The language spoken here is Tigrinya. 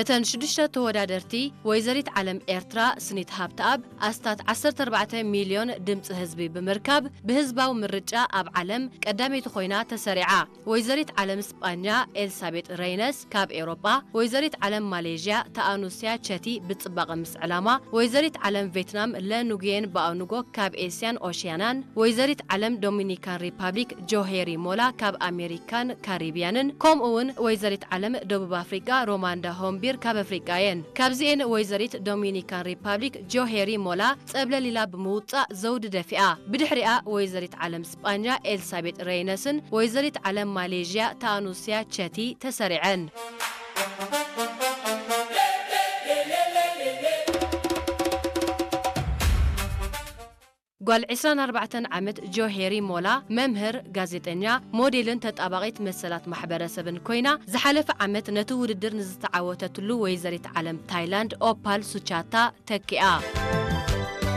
እተን ሽዱሽተ ተወዳደርቲ፣ ወይዘሪት ዓለም ኤርትራ ስኒት ሃብተኣብ ኣስታት ዓሰርተ ኣርባዕተ ሚልዮን ድምፂ ህዝቢ ብምርካብ፣ ብህዝባዊ ምርጫ ኣብ ዓለም ቀዳመይቲ ኮይና ተሰሪዓ። ወይዘሪት ዓለም ስጳኛ ኤልሳቤጥ ረይነስ ካብ ኤውሮጳ፣ ወይዘሪት ዓለም ማሌዥያ ተኣኑስያ ቸቲ ብጽባቐ ምስ ዕላማ፣ ወይዘሪት ዓለም ቬትናም ለ ኑጉየን ባኦኑጎ ካብ ኤስያን ኦሽያናን፣ ወይዘሪት ዓለም ዶሚኒካን ሪፓብሊክ ጆሄሪ ሞላ ካብ ኣሜሪካን ካሪቢያንን፣ ከምኡ እውን ወይዘሪት ዓለም ደቡብ ኣፍሪቃ ሮማንዳ ሆምቢር ካብ ኣፍሪቃ እየን። ካብዚኤን ወይዘሪት ዶሚኒካን ሪፓብሊክ ጆሄሪ ሞላ ጸብለል ኢላ ብምውጻእ ዘውዲ ደፊኣ። ብድሕሪኣ ወይዘሪት ዓለም ስጳኛ ኤልሳቤጥ ረይነስን ወይዘሪት ዓለም ማሌዥያ ተኣኑስያ ቸቲ ተሰሪዐን። ጓል ዕስራን ኣርባዕተን ዓመት ጆሄሪ ሞላ መምህር፣ ጋዜጠኛ፣ ሞዴልን ተጣባቒት መሰላት ማሕበረሰብን ኮይና፣ ዝሓለፈ ዓመት ነቲ ውድድር ንዝተዓወተትሉ ወይዘሪት ዓለም ታይላንድ ኦፓል ሱቻታ ተኪኣ።